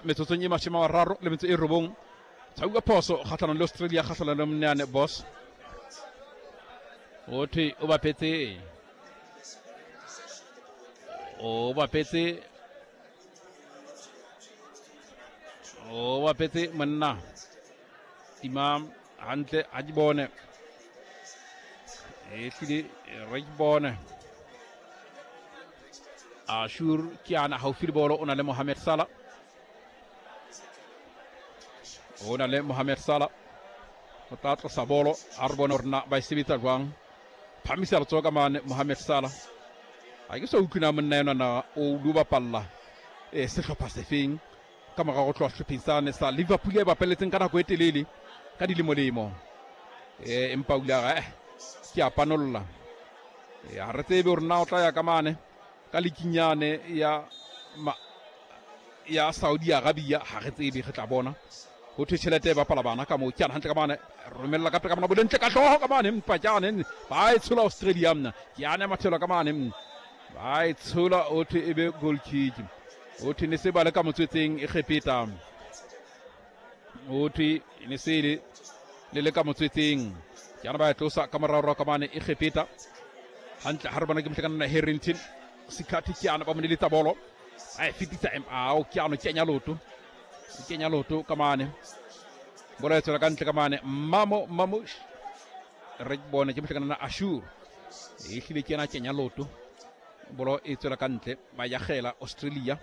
Metsotsong e 39, tshauka phoso kgatlhanong le Australia, kgatlhanong le Mneane Boss. O thwe o bapetse, o bapetse, o bapetse monna tima hantle ha di bone, e hlile re ke bone. Ashur ke ana haufi le bolo, o na le Mohamed Salah, o na le Mohamed Salah, o tla tlosa bolo. A re bone gore na ba e sebetsa jwang. Phamisa letsoho ka mane Mohamed Salah. Ha ke sa utlwe na monna enwa na o lo bapalla e sehlopha sefeng ka morago go tloha sehlopheng sane sa Liverpool e bapaletseng ka nako e telele ka dilemolemo, e empa o ile a re ke a panolla. Ha re tsebe gore na o tla ya ka mane ka likinyane ya ma, ya Saudi Arabia, ha re tsebe, re tla bona. Ho thwe tjhelete e bapala bana ka moo. Ke ana hantle ka mane, romella ka pele ka mona, bolentle ka hlooho ka mane, empa ke ane ba e tshola Australia mna. Ke ane mathelo ka mane, ba e tshola, o thwe e be goal kick. O thwe ne se ba le ka motswetseng e kgepeta, o thwe ne se le le le ka motswetseng. Ke ana ba e tlosa ka moraorao ka mane e kgepeta hantle. Ha re bona ke mohlekana Harrington Sikhathi, ke ana ba mo neletsa bolo, a e fetisa ao ke ano kenya loto, kenya loto ka mane, bolo e tswela ka ntle ka mane. Mamo Mamush, re bone ke mohlekana Ashur, e hlile ke ena kenya loto, bolo e tswela ka ntle. Ba yagela Australia,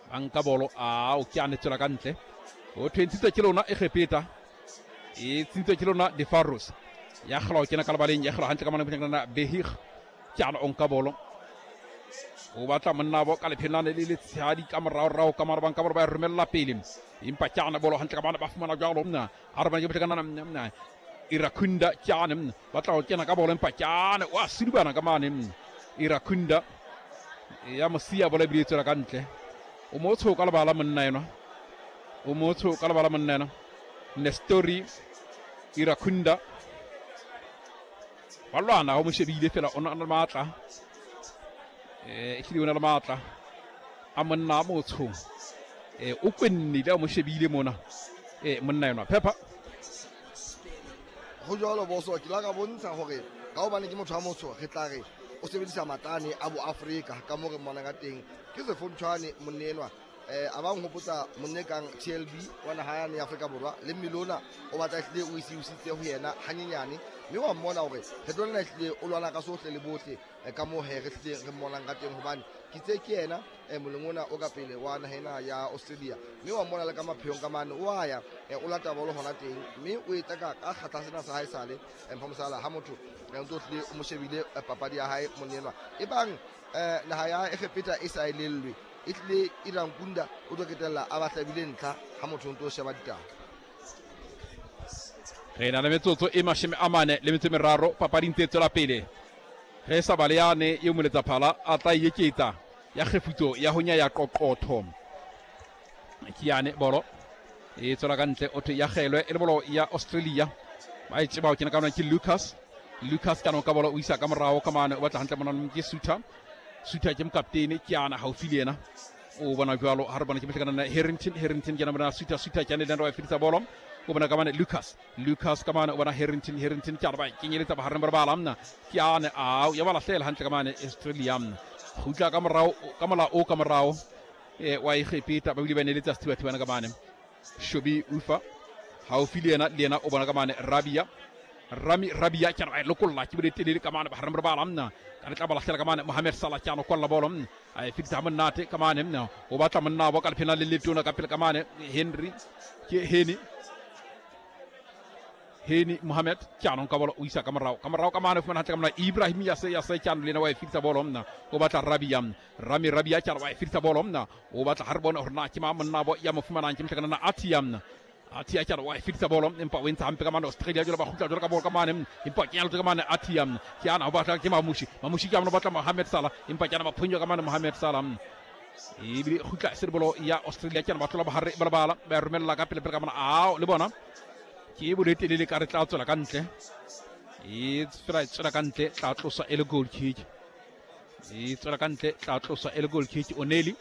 ba nka bolo, ao ke ane tswela ka ntle. O thwe ke lona Egepeta, e tsintse ke lona Defaros, ya gela o kena ka lebaleng, ya gela hantle ka mane mohlekana Behig, ke ana o nka bolo, o batla monnabo ka lephelane le letshehadi ka moraorao ka mara, banka bolo ba e romella pele, empa ke ana bolo hantle ka bana ba fumana jalo mna. A re bana ke mohlekana mna Irakunda, ke ane ba tla go kena ka bolo, empa ke ane wa sedubana ka mane Irakunda ya mosia, bolo ebile e tswela ka ntle. O motsho ka lebala monna enwa, o motsho ka lebala monna enwa Nestori Irakunda, ba lwana, o mo shebile fela, o na le matla, ehlile o na le matla a monna a motsho, o kwennile a mo shebile mona, monna enwa phepha. Go jalo boso, ke la ka bontsha gore ka gobane ke motho wa motsho, re tla re o sebedisa matlane a bo Afrika ka mo re mmonang ka teng. Ke sefontshwane monne enwa, a ba nghopotsa monne kang TLB wa naha yane ya Afrika Borwa, le mmele ona o batla ehlile o isiusitse ho yena hanyenyane, mme wa mmona hore re tlo nna ehlile o lwana ka sohle le bohle, ka moo he re hlile re mmonang ka teng, hobane ke tse ke yena moleng ona o ka pele wa naha ena ya Australia, mme wa mmona le ka mapheong ka mane o a ya, o lata bolo hona teng, mme o etsa ka kgatla sena sa hae sale mpha mosala ha motho ntse o hlile o mo shebile papadi ya hae monne enwa. E bang naha ya Egepeta e sa elellwe, e tlile Irankunda o tlo ketella a ba hlabile ntlha ha motho o ntse o sheba ditaba. Re na le metsotso e 43, papadi ntse e tswela pele. Ge sa bale yane eo moletsaphala a tla e eketsa ya kgefutso ya ho nyaya qoqotho. Ke yane bolo e tswela ka ntle, o thwe ya kgelwe e le bolo ya Australia. Ba e tseba ho kena ka ke Lucas, Lucas ka ka bolo o isa ka morao ka mane, o batla hantle mona ke Suter, Suter ke mokaptene, ke ana haufi le yena, o bona jwalo. Ha re bona ke mohlekana Harrington, Harrington ke ana bona Suter, Suter ke ane le wa fetisa bolo, o bona ka mane Lucas, Lucas ka mane o bona Harrington, Harrington ke ana ba kenyeletsa bohareng ba bala mna, ke ane ao ya ba lahlela hantle ka mane Australia mna, kgutla ka morao ka mola o ka morao wa Egepeta, ba bile ba neletsa sethibathibana ka mane Shobi Ufa haufi le yena, le yena o bona ka mane Rabia, Rami Rabia ke ana ba lokolla ke bole telele ka mane bohareng ba bala mna, ka letla ba lahlela ka mane Mohamed Salah, ke ana kwalla bolo mna, a e fetisa monate ka mane mna, o batla monna bo ka lephena le letona ka pele ka mane Henry, ke Heni, Heni Mohamed, ke ano ka bolo o isa ka morao, ka morao ka mane fumana hantle ka mona Ibrahim Yase, Yase ke ano le yena wa e fetisa bolo mna, o batla Rabia, Rami Rabia ke ano wa e fetisa bolo mna, o batla ha re bone hore na ke mang monna bo ya mo fumanang, ke mohlakana na Atia mna, Atia ke ano wa e fetisa bolo, empa o entse hampe ka mane Australia, jwale ba kgutla jwale ka bolo ka mane, empa ke nyalotse ka mane Atia, ke ana o batla ke Mamushi, Mamushi ke ana o batla Mohamed Salah, empa ke ana ba phonywa ka mane Mohamed Salah, ebile kgutla se bolo ya Australia, ke ana ba tlola bohare ba lebala, ba romella ka pele pele ka mona, ao le bona ke bolo e telele ka re tla tswela ka ntle, e tswela tswela ka ntle, tla tloswa e le goal kick, e tswela ka ntle, tla tloswa e le goal kick. Oneli